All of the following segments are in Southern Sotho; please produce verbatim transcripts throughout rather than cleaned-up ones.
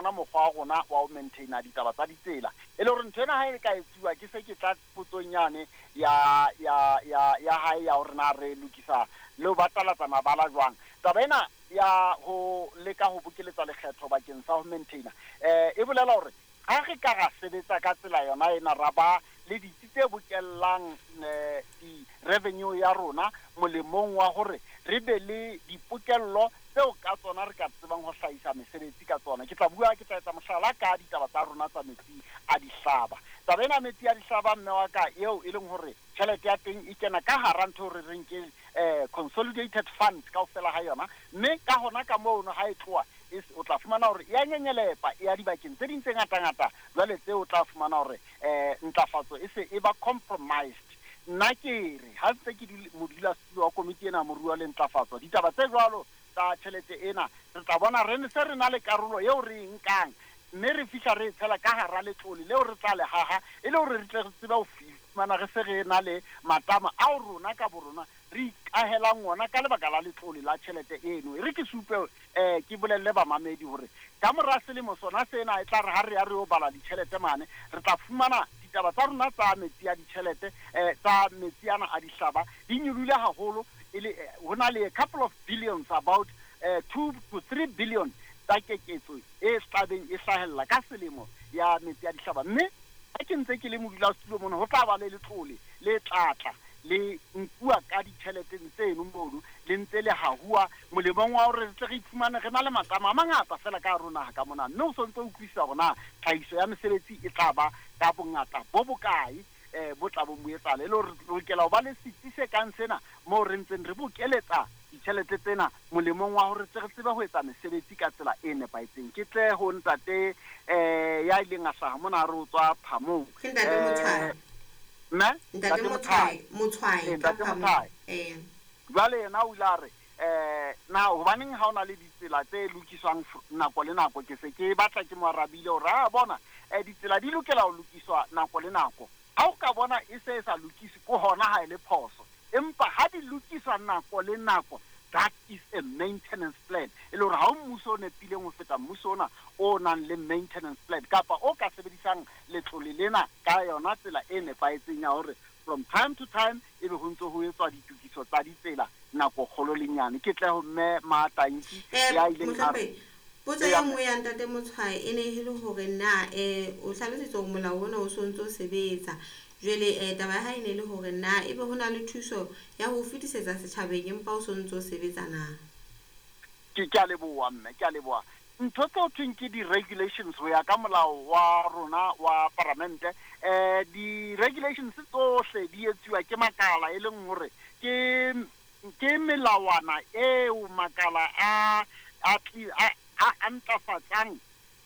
ona mokgwa wa rona wa ho maintaina ditaba tsa ditsela. E le hore ntho ena ha e ka etsuwa, ke se ke tla potsong yane ya ya ya ya hae ya hore na re lokisa le ho batalatsa mabala jwang. Taba ena ya ho leka ho bokeletsa lekgetho bakeng sa ho maintaina, eh e bolela hore ha re ka ra sebetsa ka tsela yona ena, ra ba le ditsi tse bokellang eh, di-revenue ya rona molemong wa hore re be le dipokello tseo ka tsona re ka tsebang ho hlahisa mesebetsi ka tsona. Ke tla bua, ke tla etsa mohlala ka ditaba tsa rona tsa metsi a dihlaba. Taba ena metsi a dihlaba, mme wa ka, eo e leng hore tjhelete ya teng e kena ka hara ntho re reng ke eh, consolidated fund kaofela ha yona, mme ka hona ka mono ha e tloha o tla fumana hore e a nyenyelepa e ya dibakeng tse ding tse ngata-ngata. Jwale tseo o tla fumana hore um ntlafatso e se e ba compromised. Nna ke re ha ntse ke modulasetulo wa komiti ena moruo le ntlafatso, ditaba tse jwalo tsa tjhelete ena re tla bona re se re na le karolo eo re e nkang, mme re fihla re e tshela ka hara letlole leo re tla le haha, e le hore re tle re tsebe ho fumana re se re na le matama ao rona ka borona re ikahelang ona ka lebaka la letlole la tjhelete eno. E re ke supe eh ke bolelle bamamedi hore ka mora selemo sona sena e tla re ha re ya re yo bala ditjhelete mane, re tla fumana ditaba tsa rona tsa metsi a ditjhelete eh tsa metsi ana a dihlaba di nyolohile haholo, e le ho na le a couple of billions, about eh, two to three billion tsa keketso e tlabeng e hlahella ka selemo ya metsi a dihlaba. Mme ha ke ntse ke le modulasetulo mona, ho tla ba le letlole le tlatla le nkuwa ka ditjheleteng tseno mono, le ntse le hahuwa molemong wa hore re tle re iphumane re na le matama a mangata fela ka hare ho naha ka mona. Mme o sontse o utlwisisa hore na tlhahiso ya mesebetsi e tla ba ka bongata bo bokae eh bo tla bo mo etsahala, e le hore re lokela ho ba le setsi se kang sena moo re ntseng re bokeletsa ditjhelete tsena molemong wa hore tle re tsebe ho etsa mesebetsi ka tsela e nepahetseng. Ke tle ho ntate eh ya ileng a hlaha mona re o tswa Phamong. Ke ntate Motshwae. Mme Ntate Motshwae, Motshwae Eh, ntate ka Phamong. Motshwae. Eh. Jwale yena o ile a re eh na hobaneng ha ona le ditsela tse lokiswang nako le nako? Ke se ke batla ke mo arabile hore a bona eh ditsela di lokela ho lokiswa nako le nako. Ha o ka bona e se e sa lokiswe, ke hona ha e le phoso, empa ha di lokiswa nako le nako, that is a maintenance plan. E le hore ha o mmuso o nepileng ho feta mmuso ona o nang le maintenance plan, kapa o ka sebedisang letlole lena ka yona tsela e nepahetseng ya hore from time to time ebe ho ntso ho etswa ditokiso tsa ditsela nako kgolo le nyane. Ke tle ho mme Matanki Eh, ya ileng a re Mohlomphehi, potso Eya, e nngwe ya ntate Motshwae e ne e le hore na eh o hlalositse hore molao ona o sontso o sebetsa. Jwale eh taba ya hae e ne e le hore na ebe ho na le thuso ya ho fetisetsa setjhabeng empa o sontso o sebetsa na? Ke ke a leboha mme, ke a leboha. Ntho tseo thweng ke di-regulations ho ya ka molao wa rona wa paramente, eh di-regulations tsohle di etsuwa ke makala, e leng hore ke ke melawana eo makala a a a a ntlafatsang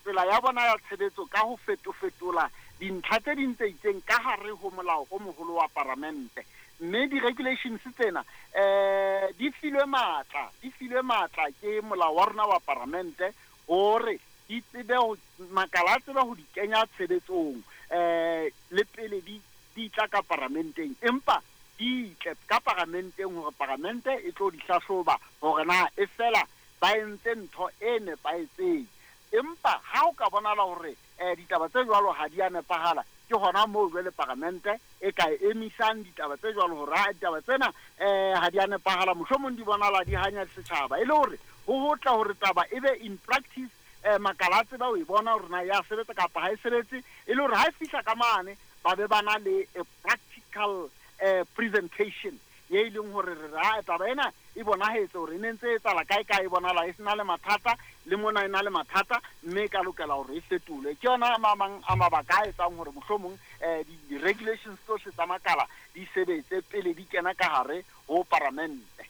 tsela ya bona ya tshebetso ka ho fetofetola dintlha tse ding tse itseng ka hare ho molao o moholo wa paramente. Mme di-regulations tsena eh di filwe matla, di filwe matla ke molao wa rona wa paramente hore di tsebe ho makala a tsebe ho di kenya tshebetsong eh le pele di di tla ka paramenteng, empa di tle ka paramenteng hore paramente e tlo di hlahloba hore na e fela ba entse ntho e nepahetseng. Empa ha o ka bonahala hore eh ditaba tse jwalo ha di a nepahala, ke hona moo jwale paramente e ka emisang ditaba tse jwalo hore ha ditaba tsena eh ha di a nepahala, mohlomong di bonahala di hanya setjhaba, e le hore ho hotla hore taba e be in practice eh makala a tseba ho e bona hore na ya sebetsa kapa ha e sebetse, e le hore ha e fihla ka mane ba be ba na le a practical eh presentation ye e leng hore re ra taba ena e bonahetse hore e ne ntse e etsahala kae kae, e bonahala e sena le mathata le mona e na le mathata, mme e ka lokela hore e fetolwe. Ke yona a mang a mabaka a etsang hore mohlomong eh di-regulations tsohle tsa makala di sebetse pele di kena ka hare ho paramente.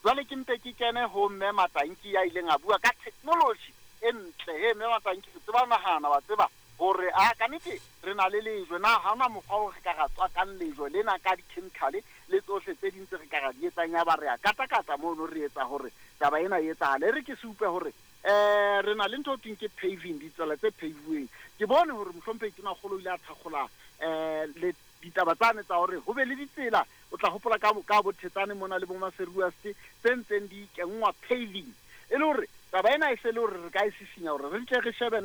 Jwale ke mpe ke kene ho mme Matanki ya ileng a bua ka technology e ntle. He mme Matanki, o tseba nahana, wa tseba hore a ka nnete re na le lejwe na, ha hona mokgwa o re ka ra tswakang lejwe lena ka di-chemical le tsohle tse ding tse re ka ra di etsang, ya ba re a katakata mono re etsa hore taba ena e etsahale. E re ke supe hore eh re na le ntho ho thweng ke paving, ditsela tse paviweng. Ke bone hore mohlomphehi Tonakgolo o ile a thakgola eh le ditaba tsane tsa hore ho be le ditsela, o tla hopola ka ka bo Thetsane mona le bo Maseruaste tse ntseng di kenngwa paving, e le hore taba ena e se le hore re ka e sisinya hore re tle re shebe